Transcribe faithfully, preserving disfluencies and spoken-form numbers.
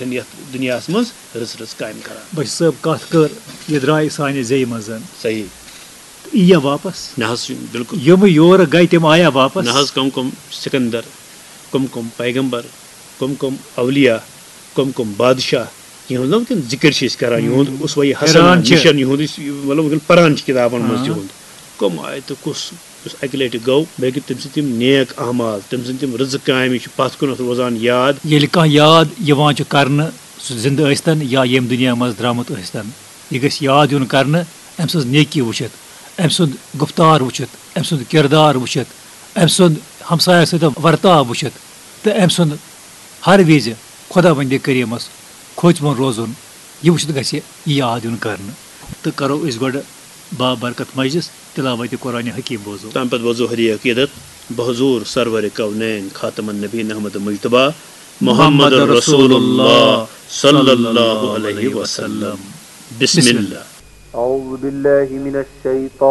یَتھ دُنیاہَس منٛز رٕژ رٕژ کامہِ کران۔ بشیر صٲب، کَتھ کٔر، یہِ درٛاے سانہِ زیٚیہِ منٛز۔ صحیح۔ یہِ یِیا واپس؟ نہ حظ، بِلکُل۔ یِم یورٕ گٔے، تِم آیا واپس؟ نہ حظ، کم کم سکندر، کم کم پیغمبر، کم کم اولیاء، کم کم بادشاہ، یِہُنٛد نہ وٕنکیٚن ذِکر چھِ أسۍ کران، یِہُنٛد اسوہ حسنہ، حیران چھِ۔ مِشن یِہُنٛد، أسۍ مطلب وٕنکیٚن پران چھِ کِتابن منٛز ہاں۔ تِہُنٛد۔ کٕم آیہِ تہٕ کُس یُس اَکہِ لَٹہِ گوٚو، بیٚیہِ کہِ تٔمۍ سٕنٛدۍ تِم نیک اعمال، تٔمۍ سٕنٛدۍ تِم رٕژٕ کامہِ چھِ پَتھ کُنَتھ روزان یاد۔ ییٚلہِ کانٛہہ یاد یِوان چھُ کرنہٕ، سُہ زِندٕ ٲسۍتَن یا ییٚمہِ دُنیا منٛز درٛامُت ٲسۍتَن، یہِ گژھِ یاد یُن کرنہٕ، أمۍ سٕنٛز نیکی وٕچھِتھ، أمۍ سُنٛد گُفتار وٕچھِتھ، أمۍ سُنٛد کِردار وٕچھِتھ، أمۍ سُنٛد ہمسایَس سۭتۍ ورتاو وٕچھِتھ تہٕ أمۍ سُنٛد ہر وِزِ خۄداوندِ کریٖمَس کھوژوُن روزُن، یہِ وٕچھِتھ گژھِ یہِ یاد یُن کرنہٕ۔ تہٕ کرو أسۍ گۄڈٕ بابرکت مجلس تلاوت قرآن حکیم بوزو۔ تَمہِ پتہٕ بوزو ہدیہ عقیدت بحضور سرور کونین خاتم النبیین احمد مجتبیٰ محمد رسول اللہ صلی اللہ علیہ وسلم۔ بسم اللہ۔ أعوذ بالله من الشيطان